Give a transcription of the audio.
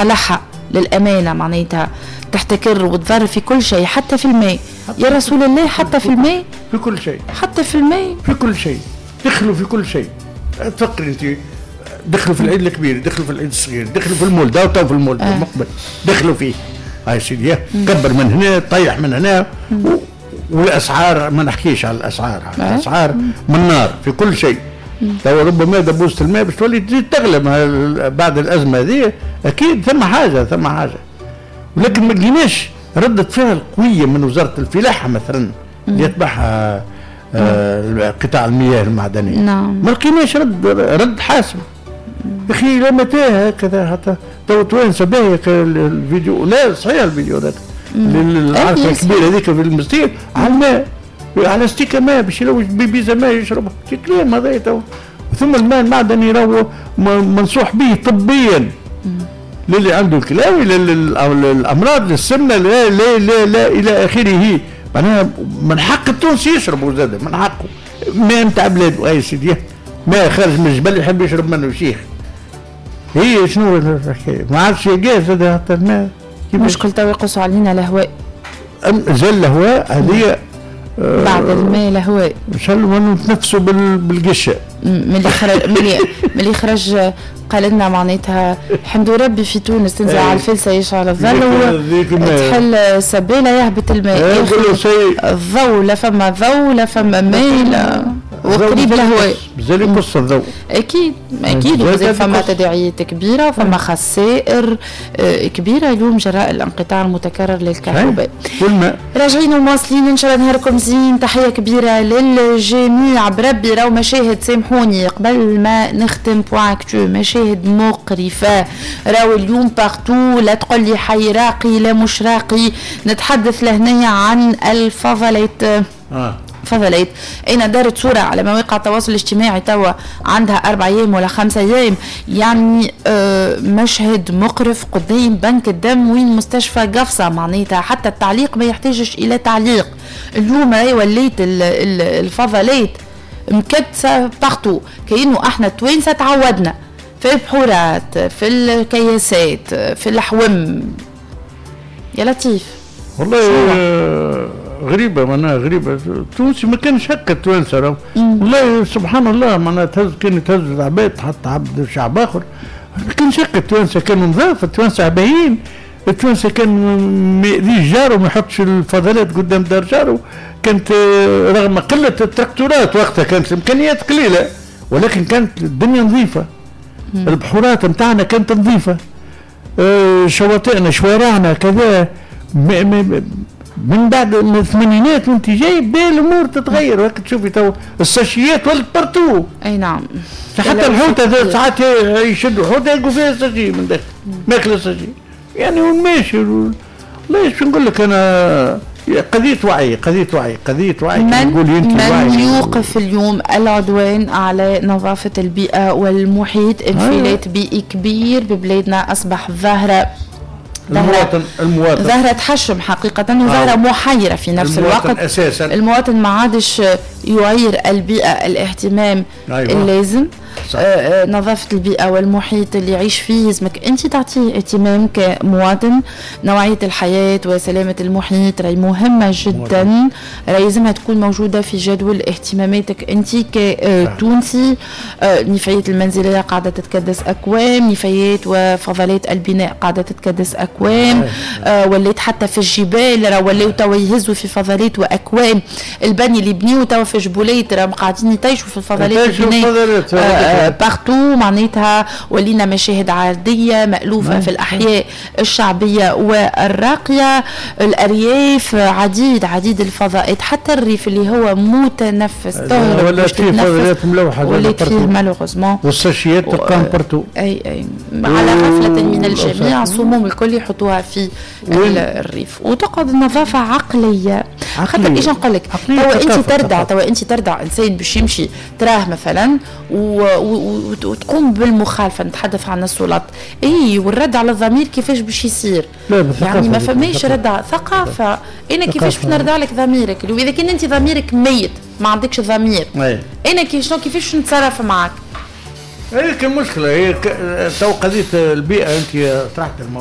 مصالحها للأمانة، معناتها تحتكر وتضر في كل شيء حتى في الماء. يا رسول الله حتى في الماء، في كل شيء، حتى في الماء، في كل شيء دخلوا في كل شيء. تفكري انت دخلوا في العيد الكبير، دخلوا في العيد الصغير، دخلوا في المولد، تو في المولد المقبل دخلوا فيه. هاي سيدي كبر من هنا، طيح من هنا. والاسعار ما نحكيش على الاسعار، الاسعار من نار في كل شيء. تو ربما دبوسة الماء باش تولي تزيد تغلى بعد الازمة هذه، اكيد ثم حاجة، ثم حاجة. ولكن ما لقيناش ردة فعل قوية من وزارة الفلاحة مثلا اللي يتبعها قطاع المياه المعدنية. نعم. ما لقيناش رد حاسم. يا اخي لا متى هكذا حتى تو توانسة باهيه الفيديو، لا صحيح الفيديو هذاك العركه الكبيرة هذيك في المستير على الماء، على ستيكه ماء باش يلوج بيبيزه ماء يشربها، كلام هذا تو. ثم الماء المعدني راهو منصوح به طبيا للي عنده الكلاوي، للامراض، للسمنه، لا لا لا لا الى اخره. معناها من حق التونسي يشرب زاد، من حقه ماء نتاع بلاده. اي سيدي ماء خارج من الجبل يحب يشرب منه شيخ. هي شنو الحكاية؟ ما عادش يلقاه زاد حتى الماء. مشكل تو يقصوا علينا الهواء. زال الهواء هذه بعد الماء الهواء. ان شاء الله نتنفسوا بالقشه. من اللي خرج قال لنا معناتها الحمد ربي في تونس تنزل على الفلسه يشعل الظل وتحل سبيله يهبط الماء. الضوء لا فما ضوء لا فما ماء لا وقريب الهواء. مازال يقص الضوء. اكيد اكيد، ومازال فما تداعيات كبيرة، فما خسائر كبيرة اليوم جراء الانقطاع المتكرر للكهرباء. والماء. راجعين ومواصلين، ان شاء الله نهاركم زين. تحية كبيرة للجميع. بربي راهو مشاهد، سامحوني قبل ما نختم point actu، مشاهد مقرفة راهو اليوم partout. لا تقول لي حي راقي لا مش راقي، نتحدث لهنيا عن الفضلات. فضلات انا دارت صورة على مواقع التواصل الاجتماعي توا عندها 4 أيام ولا 5 أيام، يعني مشهد مقرف قدام بنك الدم وين مستشفى قفصة. معناتها حتى التعليق ما يحتاجش إلى تعليق. اليوم راهي وليت الفضلات مكدسة partout، كأنه احنا التوانسة تعودنا في البحورات، في الكياسات، في الحوم. يا لطيف والله. غريبة، معناها غريبة. التونسي ما كانش هكا التوانسة والله سبحان الله. معناها تهز كان تهز العباد تحط عبد شعب آخر، ما كانش هكا التوانسة، كانوا نظاف التوانسة، باهيين التوانسة. كان ما يأذيش جاره، ما يحطش الفضلات قدام دار جاره. كانت رغم قلة التراكتورات وقتها كانت الإمكانيات قليلة، ولكن كانت الدنيا نظيفة. البحورات نتاعنا كانت نظيفة، شواطئنا، شوارعنا، كذا. من بعد من الثمانينات وانت جاي الامور تتغير. وقت تشوفي تو الساشيات ولت partout. اي نعم. حتى الحوته ساعات يشدوا حوته يلقوا فيها sachet من داخل، ماكله sachet. يعني وين ماشي؟ والله ايش نقول لك انا، قضية وعي، قضية وعي، قضية وعي. من يوقف اليوم العدوان على نظافة البيئة والمحيط؟ انفلات بيئي كبير ببلادنا أصبح ظاهرة المواطن، المواطن ظاهرة تحشم حقيقة وظاهرة محيرة في نفس الوقت. أساسا المواطن ما عادش يعير البيئة الاهتمام اللازم. نظافة البيئة والمحيط اللي يعيش فيه لازمك أنت تعطيه اهتمام كمواطن. نوعية الحياة وسلامة المحيط راهي مهمة جدا، راهي لازمها تكون موجودة في جدول اهتماماتك أنت كتونسي. النفايات المنزلية قاعدة تتكدس أكوام، نفايات وفضلات البناء قاعدة تتكدس أكوام، وليت حتى في الجبال راه ولاو توا يهزوا في فضلات وأكوام. البني اللي بنيو توا في جبوليت راهم قاعدين يطيشوا في الفضلات البناء partout. معناتها ولينا مشاهد عادية مألوفة في الأحياء الشعبية والراقية، الأرياف، عديد عديد الفضاءات، حتى الريف اللي هو متنفس تهرب ولات فيه فضلات ملوحة ولات فيه malheureusement. والساشيات تلقاهم partout. اي على غفلة من الجميع، السموم الكل يحطوها في الريف وتقعد النظافة عقلية. خاطر ايش نقول لك، توا انت تردع، توا انت تردع انسان باش يمشي تراه مثلا وتقوم بالمخالفه، نتحدث عن السلطات، اي والرد على الضمير كيفاش باش يصير؟ يعني ما فماش ردع، ثقافة. انا كيفاش باش نردع لك ضميرك اذا كان انت ضميرك ميت، ما عندكش ضمير؟ انا كيفاش نتصرف معك؟ هي كان مشكله، هي تو قضية البيئه، انت طرحت الموضوع.